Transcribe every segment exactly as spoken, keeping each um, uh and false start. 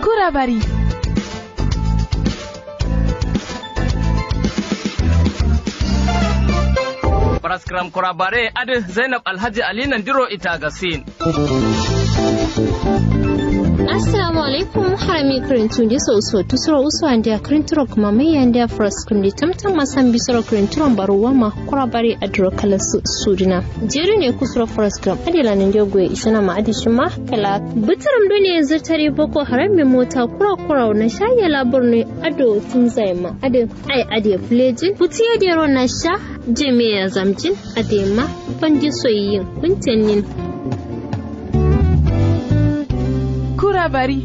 Kurabari. Faraskram kurabare adǝ zainab alhaji ali nandiro itagasin. Assalamu alaikum. Harami kǝrintu ndiso uso tusuro uso andiya kǝrinturo kǝmamai andiya faraskram di tamtam masambi suro kǝrinturo mbaru wama. Kurabare adǝro kala suduna. Jeri ne kusuro faraskram adǝ lanandiyo goye isana ma adǝ shima kala bǝtǝrǝm done zǝrtari boko haram me mota kura kura na sha yala borno. Ado tunzaye ma adǝ ai adǝ ye fǝlejin futu ye dero na sha jami'a ya zamjin. Adǝ ye ma bandi soyi yin kuntenin. Kurabari.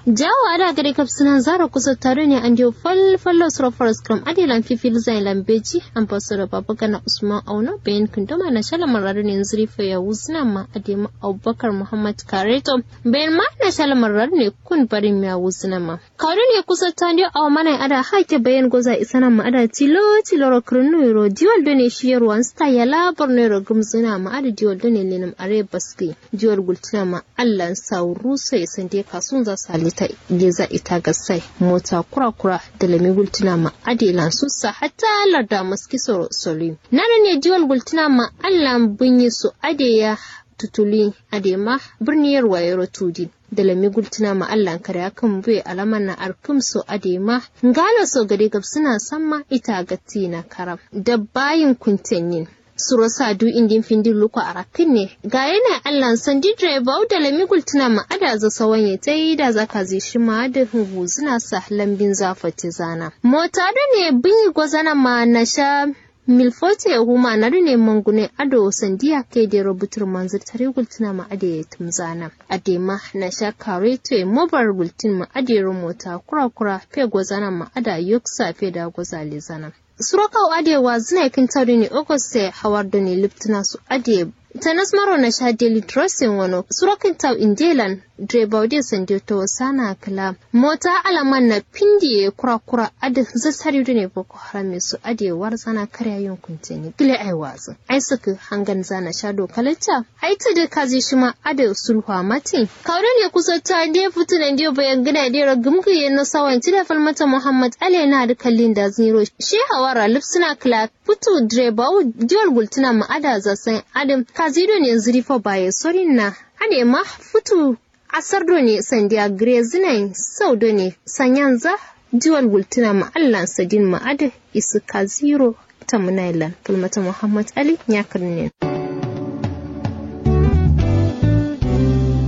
Jawo ada gade kafsǝnan zaro kusotta done andiyo fal fallo suro faraskram adǝ ye lan fifil zayin lan beji. Ambassador babagana usman auno bayin kǝndoma na sha lamar adǝ ne nzǝri fai ya wuzǝna ma adǝ ye ma abubakar muhammad kareto. Bayin ma na sha lamar adǝ ne kun barin miya wuzǝna ma kawo done kusotta ndiyo awo mana ye ada hake bayin goza isana ma ada tilo tilo ro kǝrǝnnu yiro diwal done shi yaruwan sta yala borno yiro gǝmzǝna ma ada diwal done lenǝm are baskǝ. Diwal gultǝna ma allan sawu ruso ye sande kasunza salita. Geza ita gasai mota kura kura dalami gultǝna ma adǝ ye lan sussa hatta larda maski soro soluyi. Nana ne diwal gultǝna ma allan bǝnyi so adǝ ye ya tutuluyi adǝ ye ma bǝrni yarwa yero tudin. Dalami gultǝna ma allan kare akǝm buye alaman na arkǝm so adǝ ye ma ngalo so gade gabsǝna samma ita gattǝyi na karam dabbayin kuntennin. Suro sa du indin findin luko arakkǝnne. Gayena allan sandi direbawu dalami gultǝna ma ada za sawanye tai da za kazi shima adǝ nguzǝna sa lambin za fattezana mota done bǝnyi gozana ma na sha milfote huma na done mangune ado sandiya kai dero bǝtǝrǝm manzǝ tari gultǝna ma adǝ ye tǝmzana. Adǝ ye ma na sha kareto ye mobar gultǝn ma adǝ yero mota kura kura fe gozana ma ada yoksa fe da goza lezana. Suro kawu adǝ ye wazǝna ye kǝntau done ogosto ye hawar done lǝptǝna so adǝ ye tanas maro na sha deli drosin wano suro kǝntau inde lan. Direbawu de sandiyo tawasana kǝla mota alaman na findi ye kura kura adǝ zǝsari done boko haram ye so adǝ ye warzana kare ayon kunteni gǝle ai wazǝ ai sǝkǝ hangan zana sha do kalacca. Ai tǝdǝ kazi shima adǝ sulhuwa matin kawu done kusotta nde futu nandiyo bayan gǝna dero gǝmgǝ ye no sawan cida falmata muhammad ale na adǝ kallin dazǝ nyiro she hawara lǝpsǝna kǝla. Futu direbawu diwal gultǝna ma ada za sain adǝ kazi done nzǝri fo baye sorin na. Adǝ ye ma futu asar done sandiya gǝrezǝnayin sau done sanyanza. Diwal gultǝna ma allan sadin ma adǝ isǝ kaziro. Tamǝnayin lan falmata muhammad ali nyakǝrnin.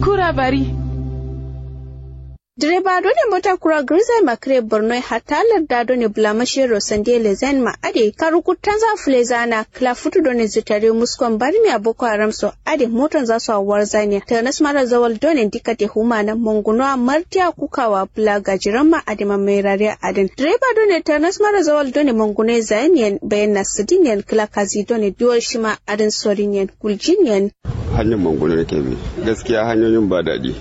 Kurabari. Direba done mota kura gǝrzayin ma kǝre bornoye hatta larda done bǝlamashiyero sandiye lezayin ma adǝ ye karu kuttanza fǝlezana kǝla futu done zǝtare muskon barmiya boko haram so adǝ ye motonza so a warzaniya tanas mara zawal done ndikate humana mangunowa martiya kukawa bǝla gajiramma adǝ ye ma mairariya adǝn direba done tanas mara zawal done mangunoye zayin yen bayanna sǝdin yen kǝla kazi done diwal shima adǝn sorin yen guljin yen. Hanyar mangunoye kebi gaskiya hanyoyin ba daɗi.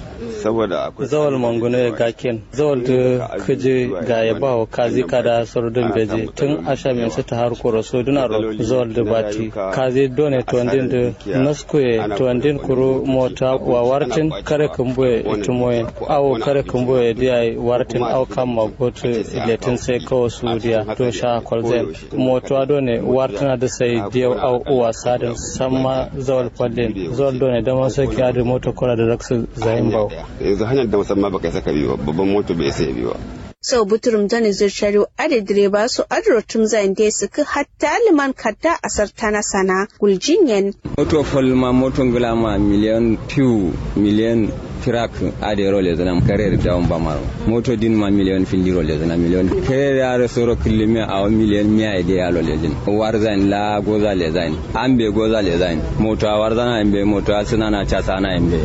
Saboda akwai zawal mangunoye gakken zawal dǝ kǝji gaye bawo kazi kada soro dǝn beji tun asha min sǝ tahar koro sodunaro zawal dǝ bati kazi done tondin dǝ naskuye tondin kuru mota wa wartin kare kǝmbuye itumoyen awo kare kǝmbuye diyayi wartin awo kamma gotu letin sai kawo sudiya do sha kolzen. Motowa done wartǝna dǝ sai diyau awo uwa sadin samma zawal fallin zawal done daman saki adǝ moto kura dǝ raksu zayin bawo. Yanzu hanyar da musamman baka isa ka bi ba babban moto bai isa ya bi ba. Sau buturum done zirtariu adǝ direba so adǝ rottum zayin dai sǝkkǝ hatta lǝman katta asar tana sana guljin yen. Moto fal ma moto ngla ma miliyon fiu miliyon firak adǝ yero lezǝna kare dawon ba maro moto din ma miliyon findiro lezǝna miliyon kare adǝ soro kǝllimiya awo miliyon miya ye dai alo lezǝn. Warzan la goza lezain ambe goza lezain moto a warzana ambe moto a sǝnana casana ambe.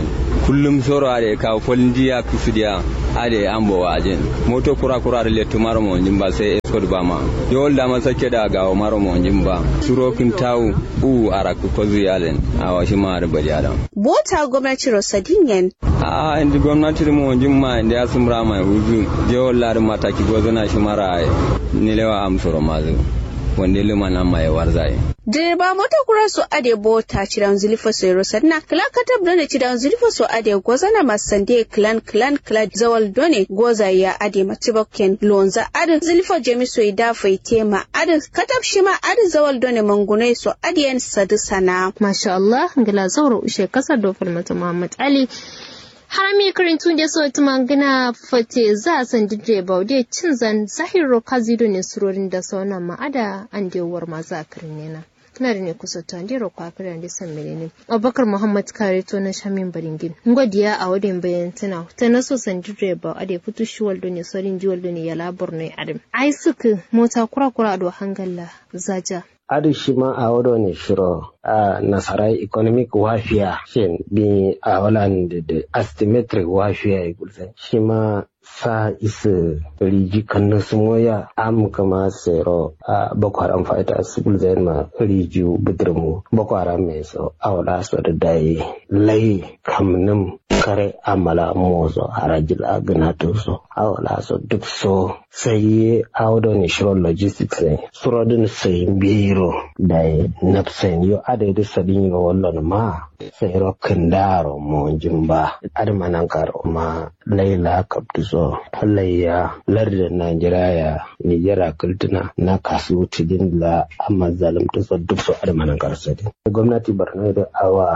Kullum soro adǝ kawo fal ndiya kǝsǝdiya adǝ ambo wajin. Moto kura kura adǝ lettu maro monjin ba sai eskod ba ma. Yol dama sakke da gawo maro monjin ba suro kǝntawu u arakku kozu yalen. Awo shima adǝ bali adam. Bota gomnati ro sadin yen. A'a indi gomnati dǝ monjin ma indi asǝmra mai wuzǝ. Jewol la dǝ mataki gozǝna shima ra'aye. Nilewa amsoro mazǝ. Wande luma namma ye warzaye. Direba moto kura so ade bota cidaŋ zilifo so yero sadna kla katab done cidaŋ zilifo so ade gozana ma sande klan klan kla zawal done goza ya ade ma tibok ken lonza ade zilifo jami so ida faite ma ade katab shima ade zawal done mangunai so ade yen sadu sana. Masha Allah ngla zauro ushe kasar do falmata Muhammad Ali. Harami kirintu nde so tǝma ngǝna fate za sandi dǝ ye bau de cinzan zahiro kazi done surorin da sauna ma ada ande war ma za kirin nena. Kǝna dǝ ne kusa to ande ro kwa kǝri ande san melenin. Abubakar Muhammad kare to na shamin baringin ngo diya a wade mbayan tǝna tana so sandi dǝ ye bau ade futu shiwal done sorin jiwal done yala borno ye adǝm. Ai sǝkǝ mota kura kura ado hangalla zaja. Adǝ shima awo done shiro a nasarai economic warfare shin bi awo lan dǝ asymmetric warfare ye gulzai shima sa isǝ riji kannu sǝmoya am kǝma sero a boko haram fighters gulzain ma riji bǝdǝrmu boko haram ye so awo la so dǝ dai lai kamnǝm kare amala moso harajil a gǝnatǝ so awo la so duk so. Sai ye awo done shiro logistics ne suro dǝn sai mbiyiro dai nafsain yo adai dǝ sadin yiro wallon ma sai ro kǝndaro monjin ba adǝ ma nankaro ma laila kaptu so laiya lardǝ nigeria ya nigeria kǝltǝna na kasu tidin la amma zalumtǝ so duk so adǝ ma nankaro sadin gomnati borno dǝ awa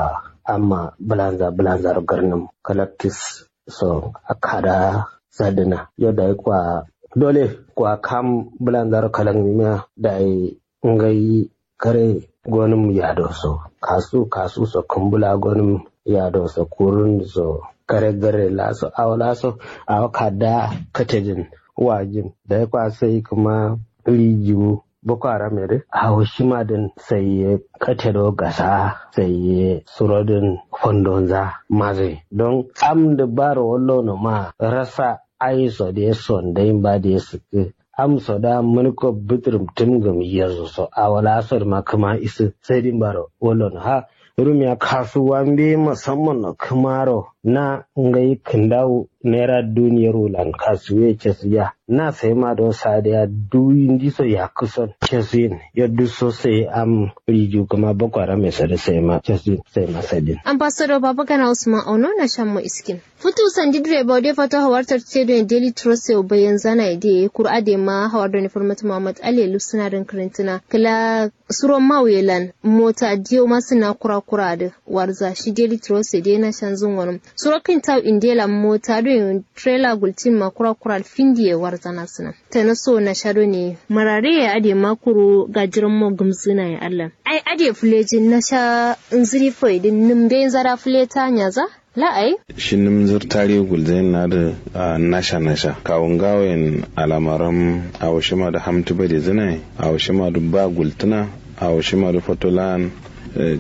amma bǝlanza bǝlanza ro garnǝm kalaktis so kada sadina yo dai kwa dole kwa kam bǝlanza ro kalangimiya dai ngai kare gonǝm yado so kasu kasu so kǝmbula gonǝm yado so kurun so kare gare laso awo laso awo kada katedin wajin dai kwa sai kǝma rijiwu boko haram ye dǝ awo shima dǝn sai ye kate do gasa sai ye suro dǝn fondonza maze don am dǝ baro wallo no ma rasa ai so de son dai mba de sǝkkǝ am so da mǝnko bǝtǝrǝm tǝmgǝm yezu so awo la so dǝ ma kǝma isǝ sai dǝ mbaro wallo no ha rumiya kasuwa mbeyi musamman no kǝmaro na ngai kǝndawu naira duniyar wulan kasuwe cesiya na sai ma do sadiya duwi ndiso yakkǝ son cesiyin yaddu so sai am riju kǝma boko haram ye sadi sai ma cesiyin sai ma sadin. Ambassador babagana usman auno na shammo iskin futu sandi direba wade fato hawartar cedo ne daily trust yau bayan zana ide kura de ma hawar da ne farmata muhammad ali lufsuna don karantuna kala suro mawuye lan mota diyo masǝna kura kura dǝ warza shi daily trust ye dai nashan zǝn wanǝm suro kǝntawu inde lan mota doi trailer gultin ma kura kura dǝ findi ye warza nasǝna tana so nasha done murare ye adai ma kuru gajiran mo gǝmzǝna ye allan ai adai fulejin nasha nzǝri foidin nǝmbe nzara fuleta nyaza. La ai. Shi nǝm nzǝr tariwu gulzain na dǝ nasha nasha kawu ngawoyen alamaram awo shima dǝ hamtǝ badezǝna ye awo shima dǝ ba gultǝna awo shima dǝ foto lan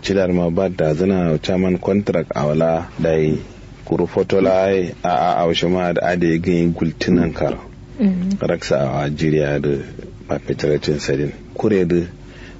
cida dǝ ma ba dazǝna chairman contract awo la dai kuru foto la ye a'a awo shima dǝ adai gǝnyi gultǝ nankaro raksa awo jiriya dǝ perpetrating sadin kure dǝ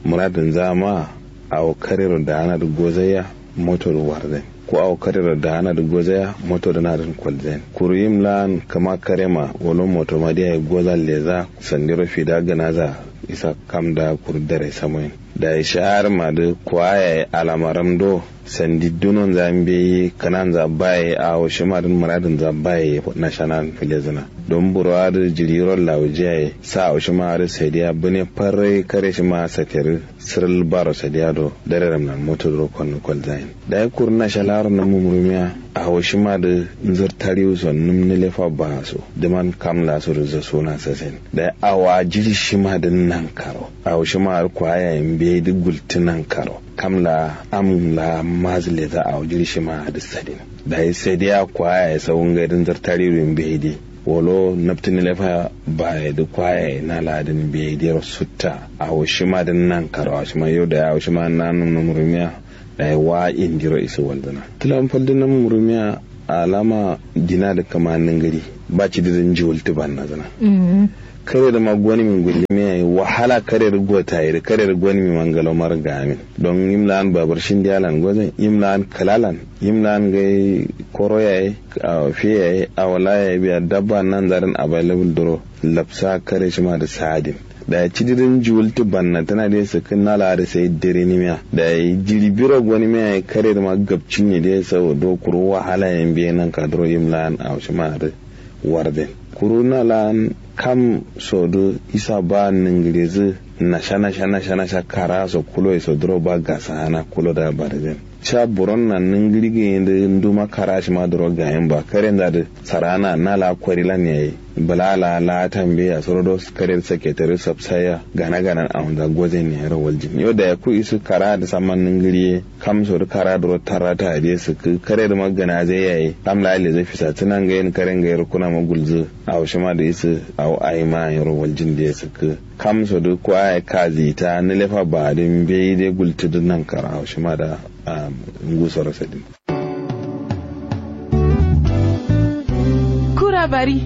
muradǝnza ma awo karero da'ana dǝ gozaiya moto dǝ warzain ko awo karero da'ana dǝ gozaiya moto dǝ nadǝn kolzain kuru yim la'an kǝma karema wolo moto ma diya ye gozan leza sandiro fida gǝnaza isa kam da kuru dare samoyin dayi sha'ar ma dǝ kuwa yayi alamaram do sandi dunonza mbeyi kǝnanza baye awo shima dǝn muradǝnza baye nashanan filezǝna don buro adǝ jiri yiro lawujiya ye sa awo shima adǝ sadiya bǝne farrai kare shima saterǝ sǝrǝl baro sadiya do dareram lan moto duro konnu kolzayin dayi kuru nasha laro nǝmum rumiya awo shima dǝ nzǝr tariwu so nǝm nǝlefa ba so dǝman kam la so dǝ zasona sasen dayi awa jiri shima dǝ nankaro awo shima dǝ kwaya ye mbeyi dǝ gultǝ nankaro kam la am la mazǝ leza awo jiri shima dǝ sadin dayi sadiya kwaya ye sau ngai dǝ nzǝr tariwu mbeyi dǝ wolo naptǝ nǝlefa baye dǝ kwaye na ladǝn mbeyi dero sutta awo shima dǝn nankaro awo shima yo dayi awo shima nanum num rumiya dayi wa indiro isǝ walzǝna tǝlam fal dǝ num rumiya alama dina dǝ kǝma nǝngǝri ba cidi dǝ njiwul tǝbannazǝna kare dǝ ma gonǝmi ngullimiya ye wahala kare dǝ gotayi dǝ kare dǝ gonǝmi ma ngaloma dǝ gamin don yim la'an babur shindiya lan gozǝn yim la'an kǝla lan yim la'an ngai koro yayi awo fe yayi awo la yayi biya dabba nanza dǝn available duro lapsa kare shima dǝ sadin Dayi cidi dǝ njuwultu bannatǝna dǝ ye sǝkkǝ na laa dǝ sai dǝrinimiya dayi jiri biro gonimiya ye kare dǝ ma gabcinye dǝ ye sau do kuru wahala ye mbeyi nanka duro yim laa. Aushima dǝ warden kuru na laa kam so dǝ isa ba nǝngǝrezǝ nasha nasha nasha nasha kara so kulo ye so duro ba gasa ana kulo da barden. Sha buron na nǝngǝri gǝyi dǝ nduma kara shima duro gayin ba kare nza dǝ sarana na laa kori lan yayi bǝla laa laa tambe ya soro do kare dǝ saketare sapsaya gana gana awunza gozen ne yaro waljin yo dayi ku isǝ kara dǝ samma nǝngǝri ye kam so dǝ kara duro tarata dǝ ye sǝkkǝ kare dǝ ma gana zai yayi kam laa lezǝ fisa tǝna ngayin kare ngayi rukuna ma gulzǝ. Aushima dǝ isǝ au ayi ma yaro waljin dǝ ye sǝkkǝ kam so dǝ kwa yayi kazi ta nǝlefa ba dǝ mbeyi dǝ gultǝ dǝ nankara aushima da. Ngusoro sadin. Kura bari.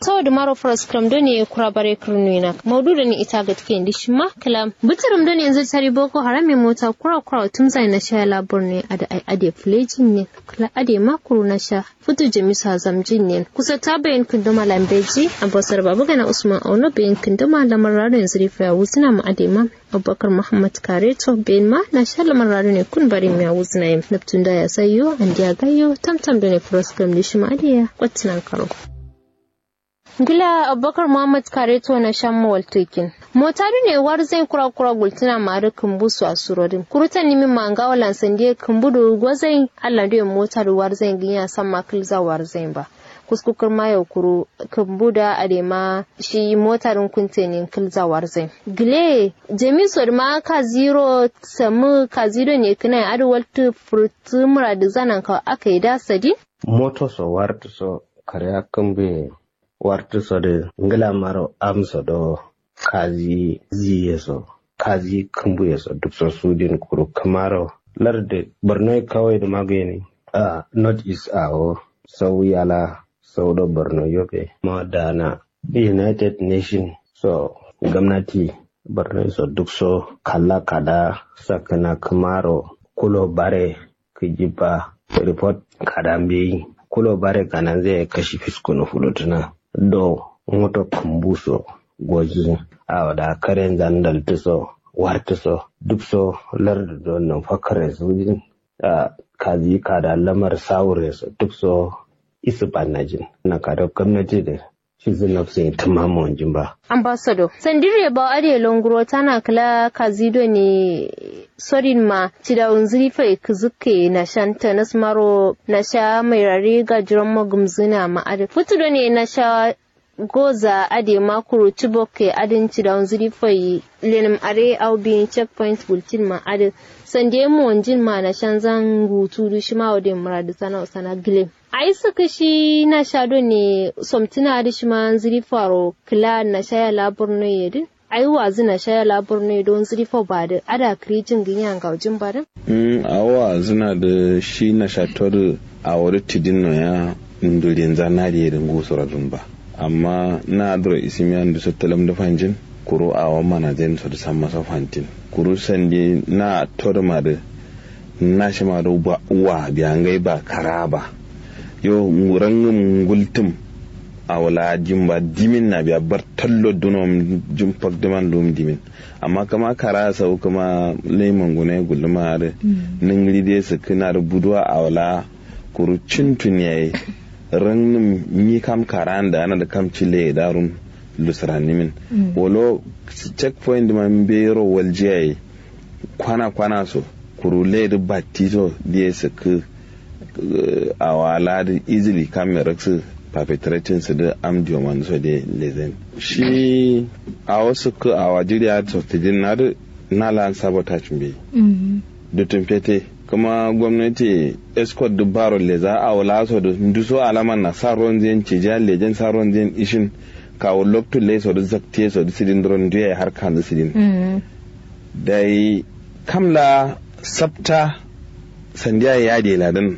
Saudǝ maro faraskǝram done kura bare kǝrnuwina maudu done ita gatke indi shima kǝla bǝtǝrǝm done yanzu tari boko haram ye mota kura kura wa tǝmzaye nasha ya labar ne adǝ ai adǝ ye fǝlejin ne kǝla adǝ ye ma kuru nasha futu jamisu azamjin ne kusa ta bayin kǝndoma lambeji. Ambasar babagana usman auno bayin kǝndoma lamar rado yanzu rifa ya wuzǝna ma adǝ ye ma abubakar muhammad kareto bayin ma nasha lamar rado ne kun barin miya wuzǝna ye nabtun da ya sayo andiya gayo tamtam done faraskǝram dǝ shima adǝ ye ya kwattǝnan karo. Ngla abubakar muhammad kareto nasha mowaltokin mota done warzain kura kura gultǝna ma adǝ kǝmbu so asuro dǝ kuru tannimin ma ngawo lan sandiye kǝmbu dǝ gozai. Allan done mota dǝ warzain gǝnya samma kǝlza warzain ba kusku kǝrma yau kuru kǝmbu da adǝ ye ma shi mota dǝn kuntenin kǝlza warzain. Gǝle jamisu dǝ ma kaziro samǝ kazi done kǝnaye adǝ waltǝ furtǝ mura dǝ zanan kawo aka ye da sadin. Moto so wartǝ so kare akkǝmbuye wartǝ so dǝ ngla maro amso do kazi ziye so kazi kǝmbuye so duk so sudin kuru kǝmaro lardǝ borno ye kawai dǝ magǝyeni. Ahh not east awo sau yala sau do borno yobe ma dana united nation so gomnati borno ye so duk so kalla kada sakkǝna kǝmaro kulo bare kǝji ba report kada mbeyi kulo bare kananze yayi kashi fiskunu fulutǝna do moto kǝmbu so gojin. Awo da karenza ndaltǝ so wartǝ so duk so lardǝ do nǝm fakkare sujin. Ahh kazi kada lamar sawure so duk so isǝ bannajin nanka do gomnati dǝ. Fizu nafsin tǝma monjin ba. Ambassador sandire bawo adǝ ye longuro tana kǝla kazi done sodin ma cidawunzǝ rifa ye kǝzǝkke nashan tanas maro nasha mairari gajiran ma gǝmzǝna ma adǝ futu done nasha goza adǝ ye ma kuru cibok ye adǝn cidawunzǝ rifa ye lenǝm are au biyin check point gultin ma adǝ sande monjin ma nashanzan ngutu dǝ shima awo dǝ ye muradǝ sana usana gǝlen. Ai sǝkkǝ shi nasha done somtǝna adǝ shima nzǝri faro kǝla nasha ya la borno ye dǝ. Ai wazǝ nasha ya la borno ye do nzǝri fo ba dǝ ada kǝri jingǝnya ngaujin ba dǝ. Awo wazǝna dǝ shi nasha to dǝ awo dǝ tidin no ya ndulinza nadi ye dǝ ngusoro dǝn ba. Amma na adǝro isǝmiya nduso tǝlǝm dǝ fanjin kuru awo manajen so dǝ samma so fantin kuru sandi na to dǝ ma dǝ. Nashima do wa biya ngai ba kara ba. Yo rangǝm ngultǝm. Awo la jimba dimin na biya bartallo duno jim fak dǝman lum dimin. Amma kǝma kara sau kǝma lai mangune gulluma adǝ. Nǝngǝri dai sǝkkǝna dǝ buduwa awo la kuru cintun yayi. Rangǝm nyi kam kara nda ana dǝ kam ci lai da rum. Lusǝranimin wolo check point dǝma mbeyiro waljiya ye. Kwana kwana so kuru lai dǝ batti so diye sǝkkǝ. Awo la dǝ easily kamme raksǝ perpetrating sǝ dǝ am diyo mandu so diye lezen. Shi awo sǝkkǝ awo jiri adǝ so tǝjin na dǝ na lan sabotage mbeyi. Dutun fete kǝma gomnati ye escort dǝ baro leza awo la so dǝ nduso alaman na sa ronzen cijiya lejen sa ronzen ishin. Kawo loktu lai so dǝ zaktiye so dǝ sǝdin duro nduye har kanzǝ sǝdin. Dai kam la sabta sandiya yade ladǝn.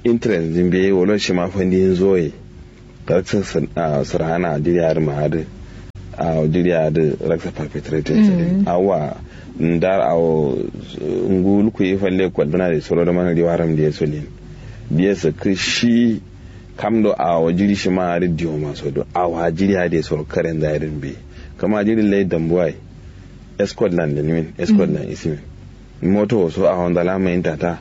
Interest dǝ mbeyi wolo shima fandin zoye. Raksǝ sǝrhana jiri adǝ ma adǝ. Awo jiri adǝ raksa perpetrating sǝdin awa. Ndar awo ngu lukuyi falle kwalduna dǝ soro dǝ mana riwaram diye so lin. Diye sǝkkǝ shi. Kam do awo jiri shima adǝ diwo maso do awo jiri adǝ ye soro karenza ye dǝn mbeyi. Kǝma jiri lai dambuwa ye escort lan dǝnimin, escort lan isimin. Moto wo so awonza la mayinta ta.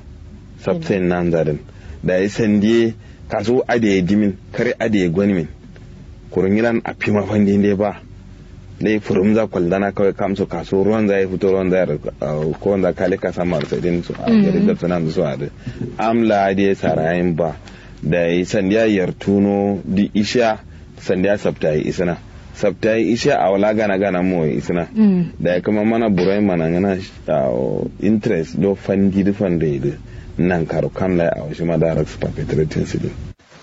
Sabsayin nanza dǝn dayi sandi ye kasu adǝ ye dimin, kare adǝ ye gonimin. Kuru nyilan afima fandi nde ba. Lai fǝrǝmza kwalzana kawai kamso kasu ruwanza ye futo ruwanza ye. Kowonza kale kasamma dǝ sadin so a gari gabsǝnanzǝ so adǝ. Am la adǝ ye sarayin ba. Dayi sandiya yartuno dǝ ishiya. Sandiya sabtayi isǝna. Sabtayi ishiya awo la gana gana moye isǝna. Dayi kǝma mana buroyin manangǝna. Interest do fandi dǝ fando ye dǝ. Nankaro kam lai awo shima da raksǝ perpetrating sǝdin.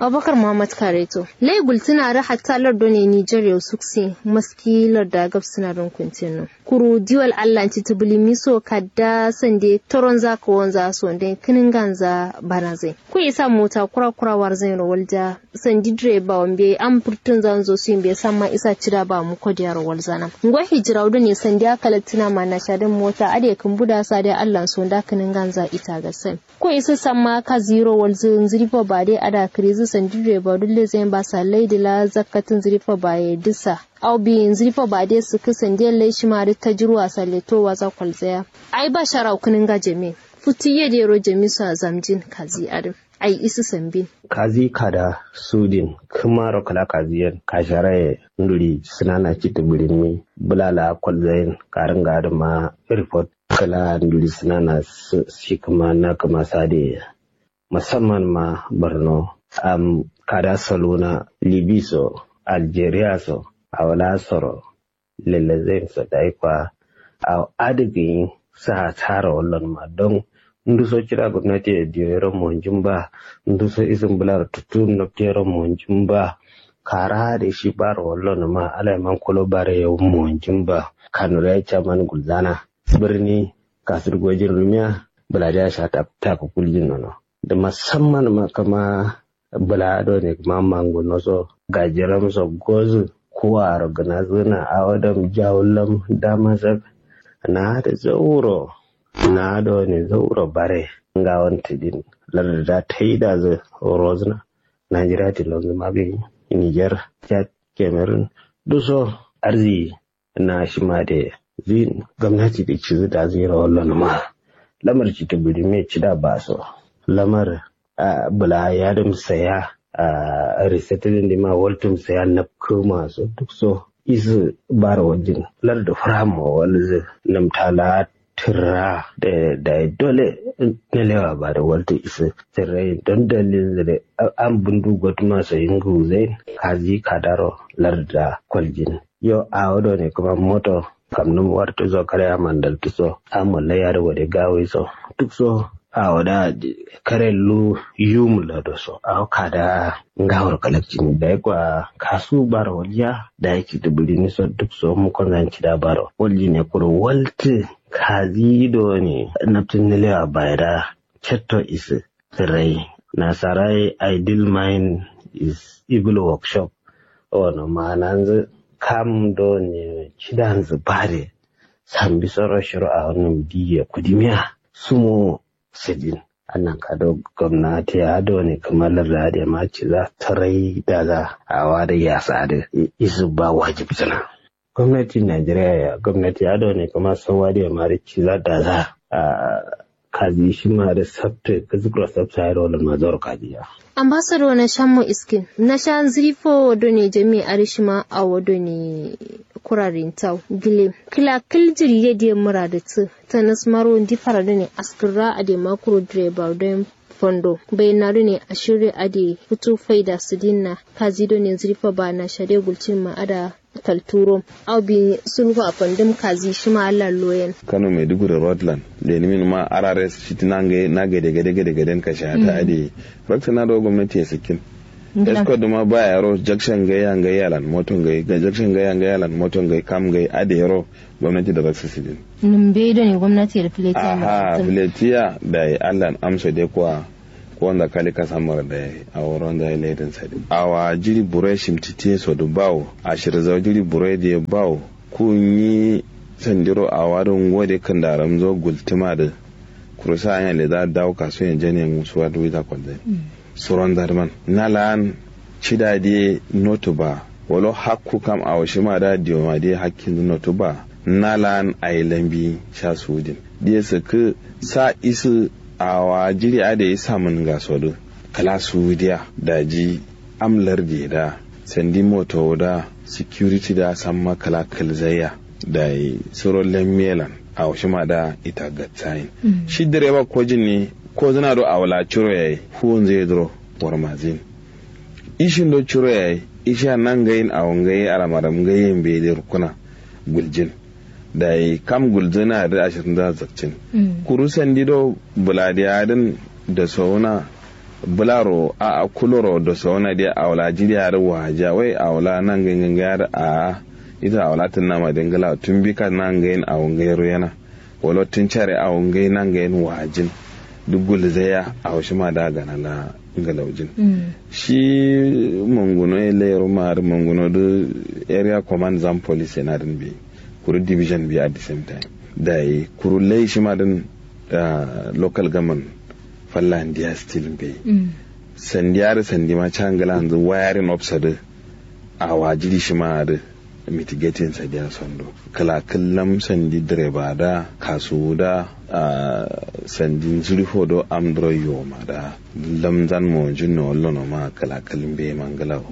Abubakar muhammad kareto lai gultǝna dǝ hatta lardo ne niger yau suksi maski larda gabsǝna dǝn kuntinno. Kuru diwal allan citǝ bǝlimiso kadda sande toronza kawonza so nden kǝnǝnganza banazai. Ku isa mota kura kura warzain ro walja. Sandi direba wambe am furtǝnzanzo suyin be samma isa cida ba muko diya ro walzana. Ngo hijirawu done sandiya kalattǝna ma nasha dǝn mota adǝ ye kǝmbuda sadiya allan so nda kǝnǝnganza ita gasain. Ko isǝ samma kazi yiro walzǝ nzǝrifo bade ada kǝrizǝ sandi direba dulle zain ba sallai dǝla zakkatǝ nzǝrifo baye dǝsa. Au bi nzǝrifo bade sǝkkǝ sandiya lai shima dǝ tajirwa salle to waza kwalzaya. Ai ba sharau kǝnǝnga jami. Futu ye dero jami so a zamjin kazi adǝ. Ai isǝ sambin. Kazi kada sudin kǝmaro kǝla kaziyen kasharaye. Nduri sǝnana citǝ bǝrinmi bǝla la kwalzayin karǝnga adǝma. Report kǝla nduri sǝnana shi kǝma na kǝma sade. Musamman ma borno am kada saluna libi so algeria so awala soro. Lelezain so dayi kwa awo adǝ gǝnyi. Sa'a taro wallonma don nduso cida gomnati ye diyo yero monjin ba. Nduso isǝm bǝlaro tuttu nabtu yero monjin ba. Kara adǝ shi baro wallonma alayi man kulo bare yau monjin ba. Kanuri ya caman gulzana. Bǝrni kasur gojin rumiya bǝladiya sha taku kuljin nono. Dǝ musamman ma kǝma bǝla done kǝma manguno so gajiram so gozǝ. Kuwaro gǝnazǝna awo dam jawullam damasak. Na adǝ zauro na done zauro bare. Ngawon tǝdin lardǝ da taidazǝ rozǝna. Najeriya tilonzǝ ma gǝnyi niger chad cameroon. Duso arzi na shima de zin gomnati dǝ cizǝ dazǝ yiro wallonǝma. Lamar citǝ bǝrime cida baso lamar. Bǝla yadǝm saya. Risetǝ dǝndima waltǝm saya napkǝma so dukso isǝ baro waljin. Lardǝ fǝramma walzǝ nǝmta la tǝrra. Dayi dole nǝlewa badǝ waltǝ isǝ tǝrrayin don dalilzǝ dǝ. Am bǝndu gotǝma so yingǝwuzain kazi kadaro lardǝ da koljin. Yo awo done kǝma moto kamnǝm wartǝ so kare amandaltǝ so. Am wallai adǝ gode gawoi so dukso. Awo da kare lu yum lado so awo kada ngawor kalakcin dayi kwa kasu baro waljiya. Dayi citǝ bǝrini so dukso mukonzan cida baro waljine kuro waltǝ. Kazi done naptǝ nǝlewa bayi da cetto isǝ. Tǝrai nasara ye idle mind is evil workshop. Ono mananzǝ kam done cidanzǝ bare. Sambi soro shiro awo nǝm diye kudimiya sumo. Sǝdin annan kado gomnati adone kǝma lardǝ adǝ ma ciza tǝrai daza. Awo adǝ yasa adǝ isǝ ba wajibsǝna. Gomnati nigeria ya gomnati adone kǝma sauwa dǝ ye ma dǝ ciza daza. Kazi shima dǝ sabtǝ kǝzǝkro sabtǝ yaro lǝma zauro kazi ya. Ambassador na shammo iskin na sha nzǝrifo done jami adǝ shima awo done. Kurarin tau gile kǝla kǝl jiri ye diye mura dǝ tǝ. Tanas maro ndi fara done askǝrra adǝ ma kuro direba done. Fondo baina done ashirri adǝ futu faida sǝdin na kazi done nzǝrifo ba na sha dǝ gultin ma ada. Kalturo au bi sulhu a fandǝm kazi shima allah loyen. Kano maiduguri roadland lenimin ma arares shiti na gade gade gade gade kashe hata adǝ ye. Raksana do gomnati ye sǝkkin. Escort dǝ ma ba yaro jakshan gai ya gai yalan moto gai jakshan gai ya gai yalan moto gai kam gai adǝ yero. Gomnati dǝ raksa sǝdin. Nǝmbe done gomnati ye dǝ filetiya ma aha filetiya. Dayi allan amso dai kuwa. Kowonza kali kasamaro dayi awo ronza ye laidin sadin awa jiri buro ye shimtiti ye so dǝ bawo. Ashirza jiri buro ye dǝ ye bawo. Ku nyi sandiro awa dǝ ngo dǝ kǝndaramzo gultǝma dǝ. Kuru sa anya leza dawo kasu ye jane musuwa dǝ wita kolzai. suronza dǝman na la'an cida diye notu ba. Walo hakku kam awo shima da diyo ma diye hakkinzǝ notu ba. Na la'an ayi lambi sha suwudin diye sǝkkǝ sa isǝ awa jiɍi adai samǝn ngaso dǝ kǝla suwudiya daji am lardiye da sandi motowo da security da samma kǝla kǝlzaiya. Dayi suro lemmelan awo shima da ita gatsayin. Shi direba kojin ne kozǝna do awo la ciro yayi fuwunzǝ ye duro warmazin. Ishin do ciro yayi ishiya nangayin awo ngai alamaram ngai yambe de rukkuna guljin. Dayi kam gulzǝna dǝ ashirin za zakcin. Kuru sandi do bǝladiya dǝn da sawuna bǝlaro a'a kuloro da sawuna diya awo la jiɍi adǝ wajiya wai awo la nangai ngai adǝ a'a ita awo la tǝnnama de ngǝla tumbi ka nangayin awo ngai ruyena. Walo tǝn care awo ngai nangayin wajin duk gulzaiya awo shima da gana la ngalaujin. Shi manguno ye lairo ma adǝ manguno dǝ area command zam police ye nadǝn be kuru division be at the same time. Dayi kuru lai shima dǝn local government falla ndiya still mbeyi. Sandi adǝ sandi ma ca ngǝlanzǝ wayarin officer dǝ awa jiɍi shima adǝ mitigating sadiya sondo kǝla kǝllam sandi direba da kasuwu da sandi nzǝrifo do am duro yoma da lamzan mowonjin no wallono ma kǝla kǝl mbeyi ma ngǝlawo.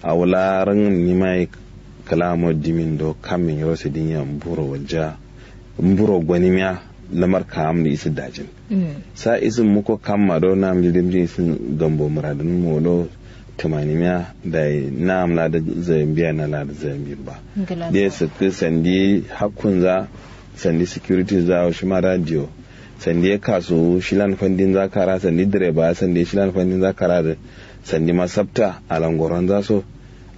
Awo la rangǝm nimayi kǝla mo dimin do kammin yiro sadinya mburo walja mburo gonimiya lamar ka'am dǝ isǝ dajin. Sa isǝ muko kamma do na'am dǝ dimjin isǝ gambo mǝradǝn molo tǝmanimiya dayi na'am la dǝ zayambiya na la dǝ zayambin ba. Diye sǝkkǝ sandi hakkunza sandi security za awo shima da diyo sandi ye kasuwu shilan fandinza kara sandi direba sandi ye shilan fandinza kara dǝ sandi ma sabta alangoronza so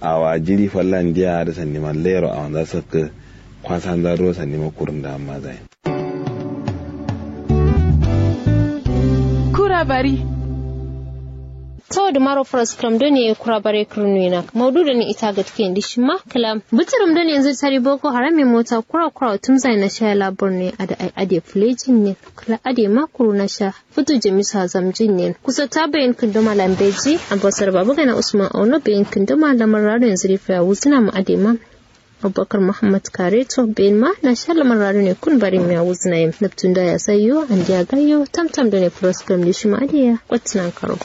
awa jiɍi fallan diya adǝ sandi ma lairo awonza sakkǝ kwasanza duro sandi ma kurun da amma zayin. Kura bari. Tawo dǝmaro faraskǝram done kura bare kǝrnuwina maudu done ita gatke ndi shima kǝla bǝtǝrǝm done yanzu tari boko haram ye mota kura kura tumzai na sha labar ne adǝ ai adǝ ye fulejin ne kǝla adǝ ye ma kuru na sha futu jamisu azamjin ne kusa ta bayin kǝndoma lambeji ambasar babagana usman auno bayin kǝndoma lamar rado yanzu rifa ya wuzǝna ma adǝ ye ma. Abubakar muhammad kareto benma na sha lamar rado ne kun barin miya wuzna yim nabtun da ya sayo andiya gayo tamtam done froskam de shima adiya kwatnan karo.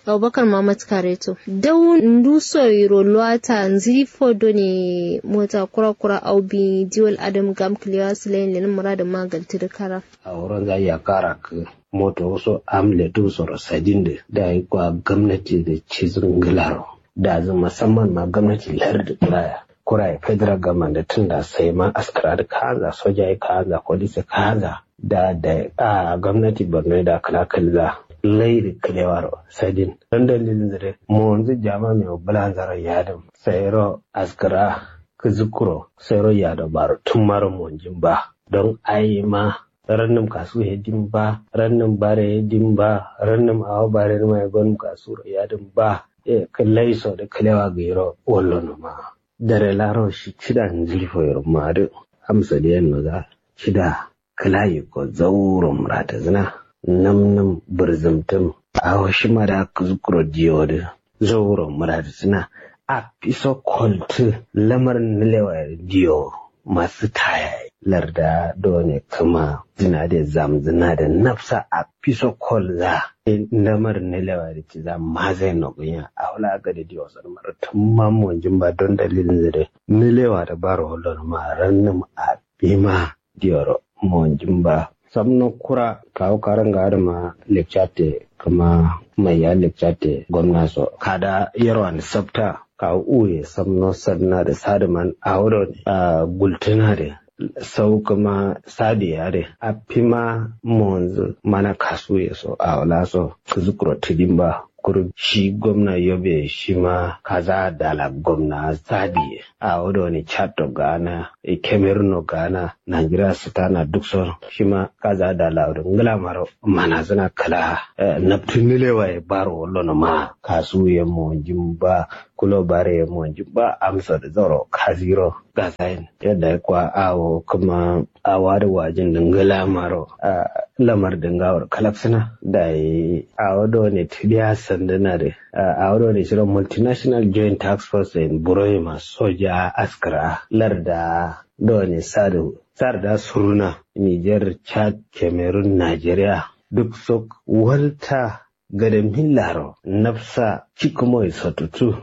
Abubakar muhammad kareto dau nduso yiro luwata nziri fo done mota kura kura au bi diwal adam gam kliwa silayin lenin muradin magalti da kara. Awo ronza yakara kǝ moto wuso am letu soro sadin dǝ dayi kwa gomnati dǝ cizǝ ngǝlaro dazǝ musamman ma gomnati lardǝ kuraya kuraye federal government dǝ tunda sai ma askara dǝ kaanza soja ye kaanza police ye kaanza da dayi a gomnati borno ye da kǝla kǝlza lai dǝ kǝlewaro sadin don dalilin zǝ dǝ monzǝ jama mewo bǝlanzaro yadǝm sairo askara kǝzǝkkuro sairo yado baro tǝmmaro monjin ba don aima rannǝm kasuwu ye dimba rannǝm bare ye dimba rannǝm awo bare nǝma ye gonǝm kasuwuro yadǝmba. Kǝllai so dǝ kǝlewa gǝyiro wallono ma dare laro shi cida nzǝri foyiro ma dǝ amsa dǝ yenno za cida kǝla yikko zauro mǝratǝzǝna nǝm nǝm bǝrzǝmtǝm awo shima da kǝzǝkkuro diyo dǝ zauro mǝratǝzǝna affiso koltǝ lamar nǝlewa ye dǝ diyo masu taya ye larda done kǝma zǝna de zamzǝna de nafsa affiso kolza lamar nǝlewa ye dǝ ciza mazain no gǝnya awo la gade diyo sodǝ maro tǝmma monjin ba don dalilin zǝ de nǝlewa de baro wallonǝma rannǝm affima diyoro monjin ba. Samno kura kawu karanga adǝma lekcate kǝma maiya lekcate gomna so kada yerwan sabta kawu uye samno sadna dǝ sadǝman awo done gultǝna dǝ sau kǝma sadiye adǝ affima monzǝ mana kasuye so awo la so kǝzǝkkuro tǝdin ba kuru shi gomna yobe shima kaza dala gomna sadiye awo done chatto gana kemeruno gana najeriya sǝtana dukso shima kaza dala dǝ ngǝlamaro manazǝna kǝla nabtǝ nǝlewa ye baro wallono ma kasuwu ye monjin ba kulo bare ye monjin ba amsa dǝ zauro kaziro gazayin yadda ye kwa awo kǝma awo adǝ wajin dǝ ngǝlamaro a Lamar dǝ ngawor kalaksǝna dayi awo done tǝdiya sandǝna dǝ. Awo done shiro multinational joint task force in buroyi ma soja askǝra larda done sadu sarda suruna niger chad cameroon nigeria duk sok walta gade millaro nafsa cikkumoyi satutu.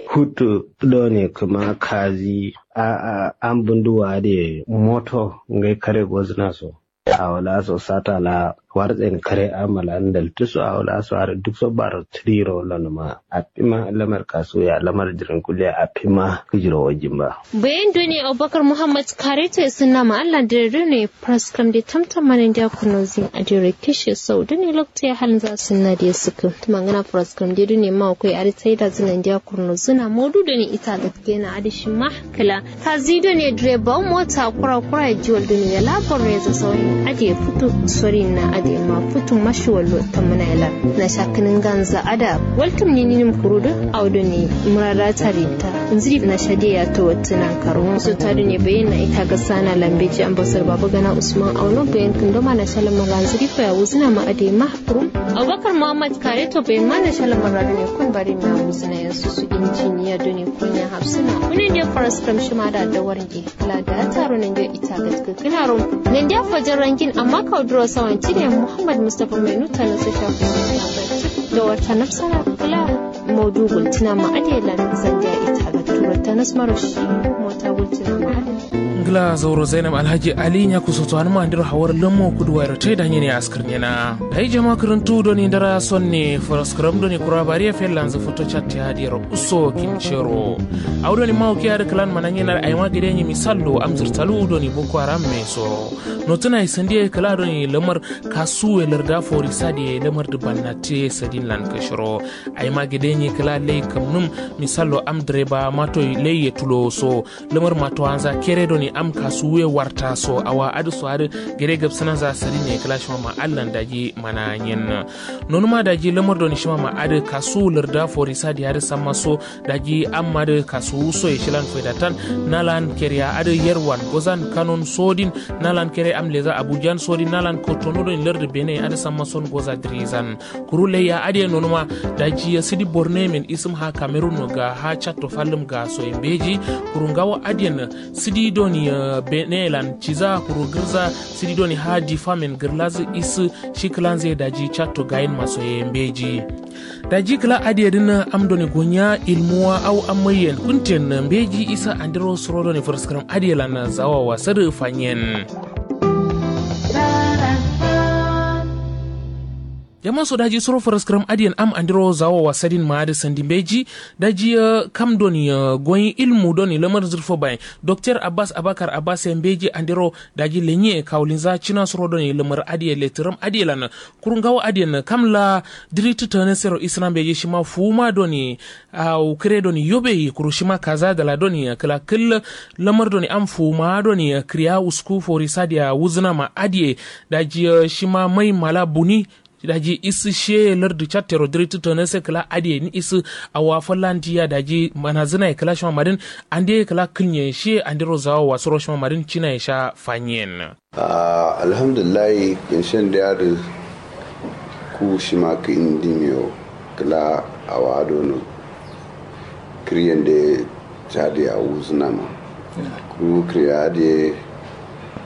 Hutu done kǝma kazi a a an bunduwa de moto ngai kare gozna so awo la so sata la wartsen kare amala ndaltu so awo la so har duk so baro triro lanuma. Afima lamar kasuya lamar jirin kuliya afima kujiro wajin ba. Bayan done abubakar muhammad kareto ya sunna ma allah dare done. Praskram de tamtam mana ndiya kurno zin adiro kishe sau done lokto ya halin za sunna de suku tumangana praskram de done ma akwai ari taida zina ndiya kurno zina modu done ita gaske na adi shima kala kazi done direba mota kura kura ya jiwal done ya labar ya za sauyin adi ya futu sorin na adi ma futu mashi wallo tamana ya lar na shakinin ganza ada waltum ni ninim kurudu au done murada tarinta nziri na shade ya to wattunan karo so ta done bayan na ita ga sana lambeji ambasar baba gana usman auno bayan kundoma na shalamar ranziri ko ya wuzina ma adi ma kurum abubakar muhammad kareto bayan ma na shalamar radone kun bari ma wuzina ya susu injiniya done kun ya hafsuna kunin da faras kam shima da dawar ge kala da taro nan da ita ga kala ro nan da fajar rangin amma ka duro sawan cine muhammad mustapha mai nuta na su shafi da wata nafsara kala maudu gultina ma adelan zanga ita ga turo ta nasmaro shi mota gultina ma adelan. Ngla zauro zainab alhaji ali nya kusoto anuma andiro hawar lammo kuduwa ro tai danye ne askar nyena. Dai jama kuruntu doni ndara sonne faraskaram doni kura bariya fellanzu foto chatte hadiyar uso kincero. Au doni mawo kiya da kalan mananye na aima gade nyi misallo amzir talu doni boko haram me so. Notuna isandi kala doni lamar kasuwe larda forisa de lamar dubannate sadin lan kashiro. Aima gade nyi kala lei kamnum misallo am direba mato lei ye tulo so. Lamar matowanza kere doni am kasuwe warta so awa adu so adu gade gabsana za sadin ne kala shima ma allan daji mana nyen. Nonuma daji lamar doni shima ma adu kasu larda forisa de adu samma so. Daji amma dǝ kasuwu soye shilan faidatan nalan keriya adǝ yerwan gozan kanon sodin nalan kere am leza abujan sodin nalan kotono doni lardǝ bene adǝ samma son goza dǝrizan. Kuru laiya adǝ ye nonuma daji ye sǝdi borno ye men isǝm ha kamerun no ga ha chatto fallǝm ga soye mbeji. Kuru ngawo adǝ ye nǝ sǝdi doni bene ye lan ciza kuru gǝrza sǝdi doni ha difa men gǝrlazǝ isǝ shi kǝlanzǝ ye daji chatto gayin maso ye mbeji. Daji kǝla adǝ ye dǝn am done gonya ilmuwa au am maiyen kunten mbeji isa andiro suro done faraskaram adǝ ye lan zawawa sadǝ fanyen. Jama so daji suro faraskaram adǝ yen am andiro zawawa sadin ma adǝ sandi mbeji. Daji kam done goyi ilmu done lamar zurfo bayin doktor abbas abakar abbas ye mbeji andiro daji lenye kawulinza cina suro done lamar adǝ ye letǝram adǝ ye lan. Kuru ngawo adǝ yen kam la dǝri tǝtǝne sero isǝna mbeji shima fuwuma done awo kǝre done yobe ye kuru shima kaza dala done kǝla kǝl lamar done am fuwuma done kǝriya wusku fori sadiya wuzǝna ma adǝ ye. Daji shima mai mala buni daji isǝ shiye lardǝ cattero dǝri tǝtǝne se kǝla adǝ ye ni isǝ awa fallandiya daji manazǝna ye kǝla shima madǝn ande ye kǝla kǝlnye shiye andero zawo wasuro shima madǝn cina ye sha fanyen. Ahh alhamdulillahi kǝnshen dǝ adǝ ku shima kǝ indi miyo kǝla awa dono kǝryen dǝ ye cadi ya wuzǝna ma kuru kǝrya dǝ ye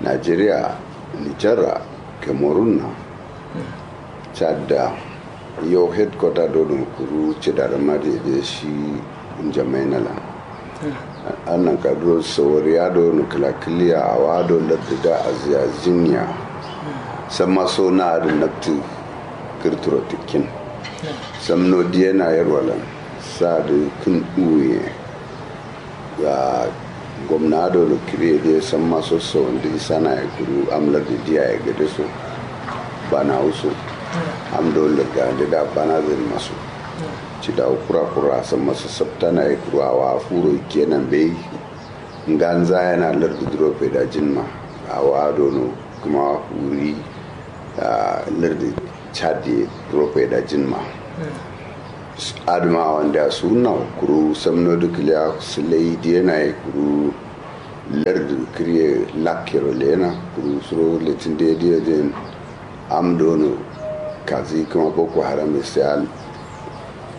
nigeria nijar ra cameroon na cad da yo headquarter dono kuru cida dǝ ma dǝ ye dǝ shi njamaina lan. Annan kaduro sawariya dono kǝla kǝliya awa do lardǝ da aziya zinya samma so na adǝ naftǝ kǝrtǝro tǝkkin samno diyena yerwa lan sa dǝ kǝn uwu ye. Gomna dono kǝriye dǝ ye samma so sawandǝ isana ye kuru am lardǝ diya ye gade so banawu so am do lardǝ ande da banazǝ dǝ ma so. Cidawu kura kura samma so sabtana ye kuru awa furo ikkena mbeyi. Nganza yena lardǝ duro faidajin ma awa dono kǝma wuri lardǝ cad ye duro faidajin ma. Adǝ ma awandeya suwunna kuru samno dǝ kǝliya sǝlai diyena ye kuru lardǝ kǝriye lakkero leyena kuru suro letin dǝ ye dǝ ye dǝ yen Am dono kazi kǝma boko haram isiyal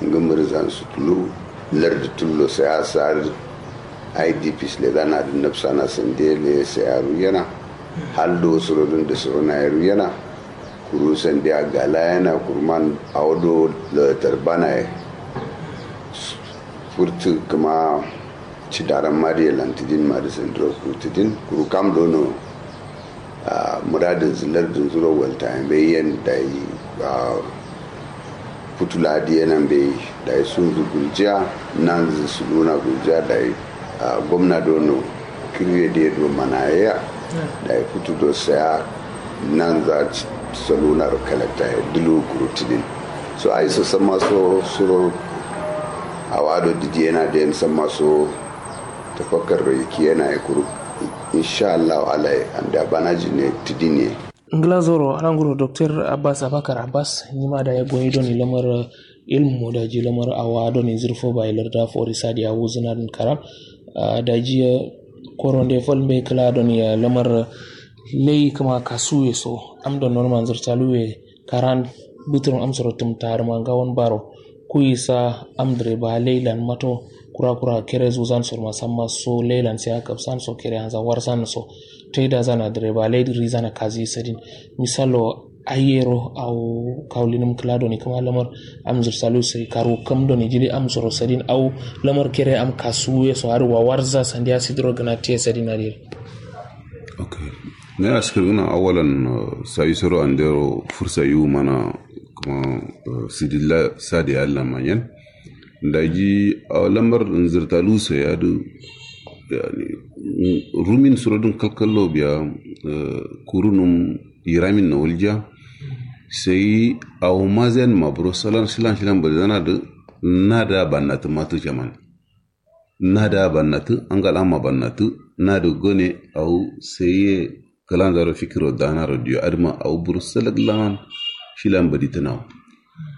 ngǝmǝr zan sutulu lardu tullo siyasa adǝ. Idps lezana adǝ nabsana sande le siyaru yana. Hal do surodun da surona yaru yana. Kuru sande a gala yana kurman awo do tarbana ye. Furtu kǝma cidaran madiye lantidin madi sandiro kurtidin kuru kam dono. Muradin zilar din zuro walta yen bai yen dai. Futu ladi yenan bai dai sunzu guljiya. Nanzu suluna guljiya dai. Gomna dono kirwe de do manayaya. Dai futu do saya nanza saluna ro kalakta ya dulu kurutidin. So ai so samma so suro. Awado didi yana den samma so. Tafakkar ro yiki yana ya kuru. Insha Allah alai anda banaji ne tidin ye. Ngla zoro alanguro doktor abbas abakar abbas nima da ya goyi doni lamar ilmu daji lamar awa doni zurfo bai larda fori sadi awu zina din karam. Daji koronde fol mbe kla doni lamar lei kama kasuwe so am don non manzur taluwe karan buturum am soro tum taruma ngawon baro. Kuyi sa am direba leilan mato kura kura kere zuzan so ma samma so leilan sai akab san so kere anza warsan so. Taida zana direba lei rizana kazi sadin. Misalo ayero au kaulinum kla doni kama lamar am zursalu sai karu kam doni jili am soro sadin au lamar kere am kasuwe so har wawarza sandiya sidro gana te sadin adir. Okay. Na ya askar gana awalan sayi soro andero fursa yu mana kuma sidilla sadi allah manyan. Daji lamar nzirtalu so yadu. Rumin surodun kalkallo biya kurunum iramin na walja. Sai awo mazayan maburo salan shilan shilan bade zana da. Na da bannatu matu jaman. Na da bannatu angal amma bannatu. Na da gone awo sai ye kalan zaro fikiro dana rodiyo adma awo buru salak laman. Shilan badi tunawo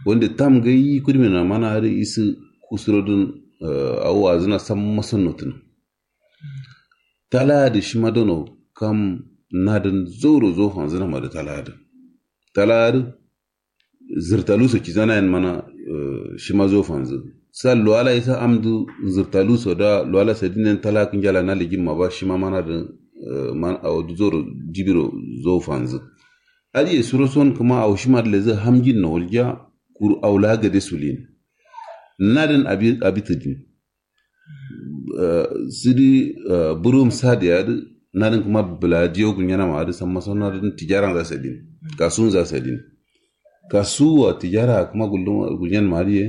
wanda tam gai kudmi na mana adi isi kusurodun. Awo azuna samma sannotun. Talaya da shima dono kam nadin zauro zo fanzuna ma da talaya da. Talaya da zirtalu so kizana yin mana. Shima zo fanzu sa luwala isa amdu zirtalu so da luwala sadin yin talaya kinjala na ligin ma ba shima mana da. Man awo zauro jibiro zo fanzu. Adiye suro son kuma awo shima da lezu hamjin na walja. Kuru awo la gade sulin nadin abi abi tudin. Sidi burum sadi adi nadin kuma bula diyo gunyana ma adi samma son nadin tijaran za sadin. Kasun za sadin. Kasuwa tijara kuma gullum gunyan ma adi ye.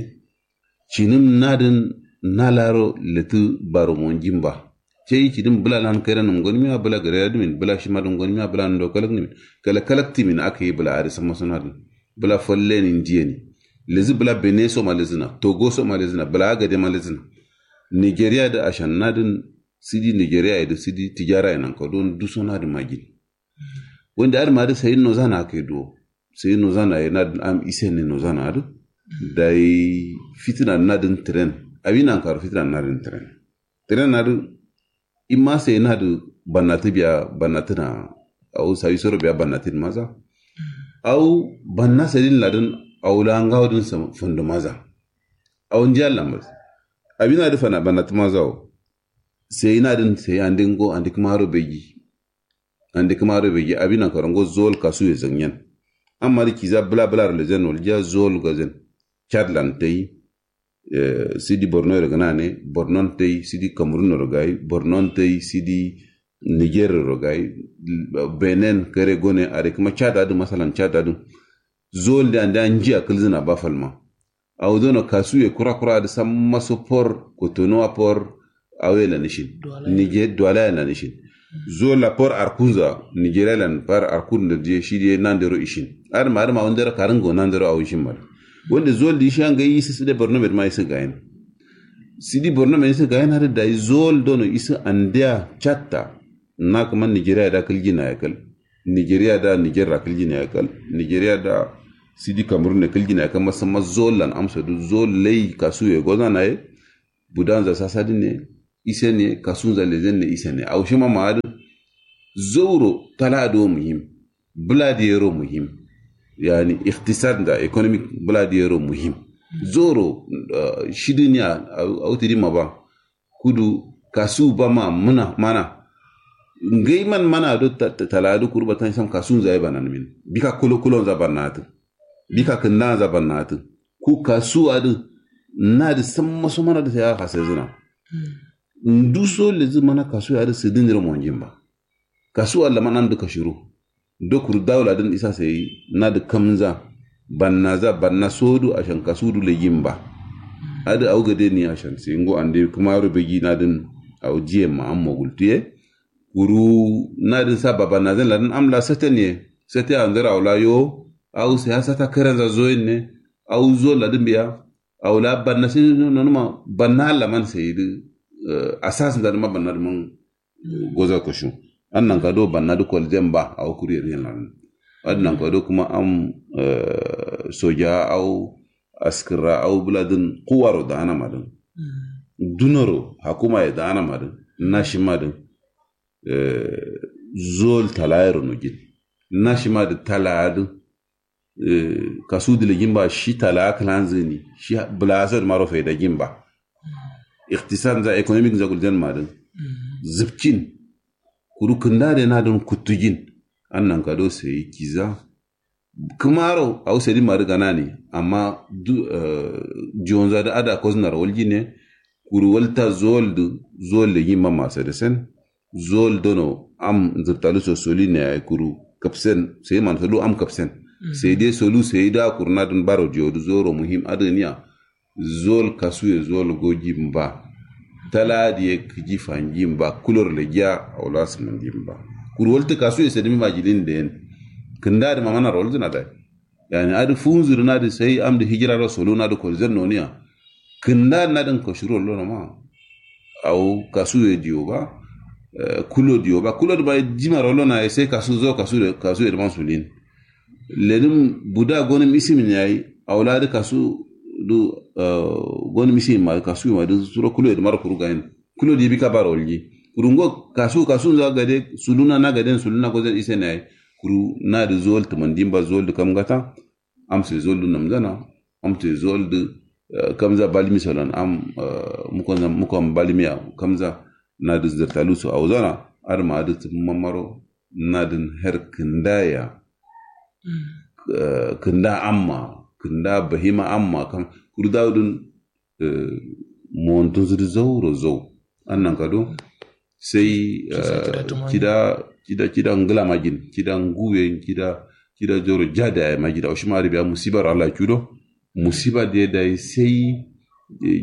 Cinim nadin na laro letu baro monjin ba. Cai cinim bula lan kairan num gonmiya bula gare adimin bula shima dun gonmiya bula ndo kalak nimin. Kalak kalak timin aka yi bula adi samma son nadin. Bula falle ni ndiye ni. Lezi bula bene so ma lezina togo so ma lezina bula agade ma lezina. Nigeria da ashan nadin sidi nigeria da sidi tijara ya nan kadon duso nadin magin. Wanda adma da sayin no zana kai do. Sayin no zana ya nadin am isen ne no zana da. Dai fitina nadin tren abi nan karo fitina nadin tren. Tren nadin. Imma sai na da bannatu biya bannatu na. Au sawi soro biya bannatu din maza. Au banna sadin ladin au la ngawo din fundu maza. Au ndi allah maza. Abi na da fana bannatu maza au. Sai na din sai andi ngo andi kuma ro begi. Andi kuma ro begi abi na karango zol kasu ya zanyen. Amma da kiza bula bula ro lezen walja zol gazen. Chad lan tai. Sidi borno yero gana ne bornon tai sidi kamerun yero gai bornon tai sidi niger yero gai. Benen kare gone are kuma chad adu masalan chad adu. Zol de ande anji akil zina ba falma. Awo dono kasuye kura kura adu samma so por kotonuwa por. Awo ye lan ishin. Niger duwala ye lan ishin. Zo la por arkunza nigeria lan par arkun da diye shi diye nandero ishin. Adma adma wandero karingo nandero awo ishin mal. Wanda zol di ishin anga yi sisi de borno med ma isi gayin. Sidi borno med isi gayin hadi dayi zol dono isi andiya chatta. Na kuma nigeria da kiljina ya kal. Nigeria da niger ra kiljina ya kal. Nigeria da sidi kamerun ne kiljina ya kal masamma zol lan amsa du zol lai kasu ye gozana ye. Budanza sasadi ne isen ye kasunza lezen ne isen ye aushima ma'adin. Zauro tala'adi wo muhim. Bula diyero muhim. Yani iktisad nza economic bǝla dǝ yero muhim. Zoro shidǝniya. Awo tidima ba kudu kasu ba ma mǝna mana. Ngai man mana do tala'adǝ kuru batan sam kasu nza ye bananǝmin. Bika kulo kulo nza banatǝ. Bika kǝnda nza banatǝ. Ku kasu adǝ nadǝ samma so mana dǝ sai a hasezǝna. Nduso lezǝ mana kasu adǝ sǝdǝniro monjin ba. Kasu allaman amdǝ kashiro. Do kuru dawuladǝn isa sai nadǝ kamza. Bannaza banna sodu ashan kasudu lejin ba. Adǝ awu gade ni ashan sai ngo ande kǝmaro beji nadǝn. Awu jiye ma ammo gultuye. Kuru nadǝn sa babannazan ladǝn amla satan ye. Sate anzar awla yo. Awu sai asata karanza zoyin ne. Awu zo ladǝn biya. Awla banna sai nonuma banna allaman sai dǝ. Asas nzadǝma banna dǝman goza koshu. An nankado banna dǝ kolzen ba awo kuru yeriyen lanǝn. Adǝ nankado kuma am soja awo askǝrra awo bǝladǝn kuwaro da'ana madǝn. Dunoro hakumaye da'ana madǝn. Nashimadǝn. Zol talayero nojin. Nashimadǝ talayadǝ. Kasu dǝ lejin ba shi tala'a kǝlanzǝni shi bǝla'aso dǝmaro faidajin ba. Iktisad nza economic nza gulzan madǝn. Zǝpcin. Kuru kǝnda dǝ nadǝn kuttujin. An nankado sai kiza. Kǝmaro awo sadin madǝ ganani. Amma du. Jiyonza dǝ ada kosnaro waljin ne. Kuru walta zol dǝ zol lejin ma masadǝ sen. Zol dono am nzǝrtalu so soli ne yayi kuru. Kapsen sai man solu am kapsen. Sai dai solu sai da kuru nadǝn baro jiyo dǝ zoro muhim adǝ niya. Zol kasuye zol gojin ba. Tala diye kǝji fanjin ba kulor lejiya. Awla sǝmandin ba. Kuru waltǝ kasuye sadǝmi majilin da yen. Kǝnda dǝ mamana rolzǝna dai. Yani adǝ funzǝ dǝ nadǝ sai amdǝ hijira ro solu nadǝ kolzen noniya. Kǝnda nadǝn kashiro lono ma. Awo kasuye diyo ba. Kulo diyo ba kulo dǝ ba jima rolo naye sai kasu zo kasuye dǝ man sulin. Lenǝm buda gonǝm isimin yayi. Awla dǝ kasu dǝ gonǝm isimin ma dǝ kasuye ma dǝ suro kuloye dǝ maro kuru gayin. Kulo dǝ bika baro walji. Kuru ngo kasu kasu nza gade suluna na gaden suluna gozen isen yayi. Kuru nadǝ zol tǝmandin ba zol dǝ kam gata. Amso ye zol dǝ namzana. Amso ye zol dǝ kamza balmi solan am. Mukon balmiya kamza. Nadǝ zǝrtalu so awzana. Adǝma adǝ tǝmma maro. Nadǝn her kǝnda ya. Kǝnda amma kǝnda bahima amma kam. Kuru dawudǝn montun sǝdǝ zauro zau. Annan kado. Sai kida kida kida ngla majin kida nguwe kida kida joro jada ya majin awo shima adǝ biya musibar allah cudo. Musiba de dai sai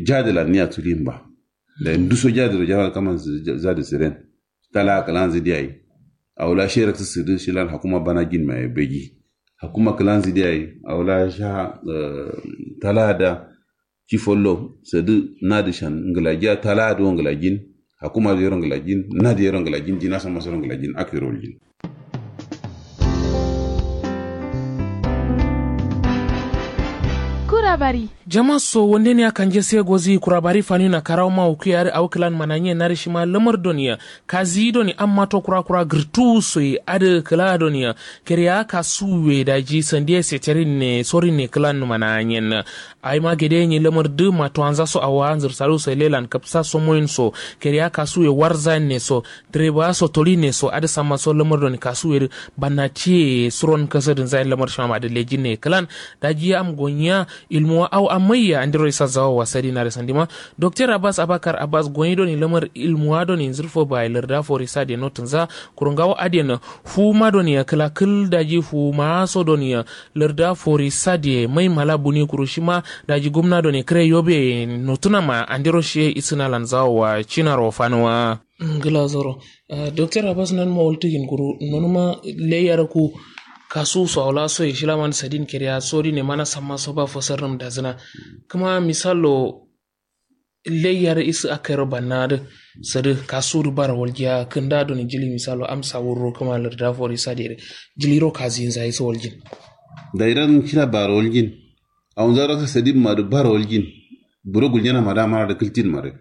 jada la niya tulin ba. Dai nduso jada ro jada kaman. Zada siren. Tala kǝlanzǝ diyayi. Awla sherak sǝsǝdǝ shilan hakuma bana gin maye begi. Hakuma kǝlanzǝ diyayi. Awla sha tala da. Ci follo sǝdǝ. Nadǝ shan ngǝlajiya tala dǝ wo ngǝlajin. Hakuma dǝ yero ngǝlajin nadǝ yero ngǝlajin jina samma soro ngǝlajin akero waljin. Kurabari. Jama so wandeniya kanje sai gozi kurabari fanina karawo ma wukuye adǝ awo kǝlan mananye nadǝ shima lamar doniya. Kazi doni amma to kura kura gǝrtu soyi adǝ kǝla doniya. Keriya kasuwe daji sandiye seterin ne sorin ne kǝlan mananyen. Aima gede nyi lamar dǝ matuwanza so awa nzǝrsalu so lelan kapsa so moyin so. Keriya kasuwe warzayen ne so. Direba so toli ne so adǝ samma so lamar doni kasuwe dǝ. Bannatiye suron kasadǝn zayin lamar shima ma dǝ lejin ne kǝlan. Daji am gonya. Ilmuwa au amaiya andiro isa zawo wasadi nare sandima. Dokter abbas abakar abbas goyi doni lamar ilmuwa doni nzirfo baye larda fori sade notunza. Kurungawo adiyana. Fuma doni ya kila kil daji fuma so doni ya. Larda fori sade mai mala buni kuru shima. Daji gumna doni kire yobe notuna ma andiro shiye isina lanzawo wa cinaro fanuwa. Ngla zoro. Doktor abbas nan ma waltu yin kuru nonuma. Leyar ku kasu so awla so ye shilaman sadin kiriya sori ne mana samma so ba fosar num dazina. Kuma misalo. Leyar isu akero banna dǝ. Sǝdǝ kasu dǝ bara waljiya kǝnda doni jili misalo amsa wurro kuma larda fori sade dǝ. Jiliro kazinza isu waljin. Dairan kira bara waljin. Awunza rasa sadin ma dǝ bara waljin. Buro guljana ma dǝ amana dǝ kǝltin ma dǝ.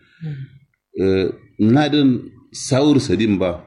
Nadǝn sawur sadin ba.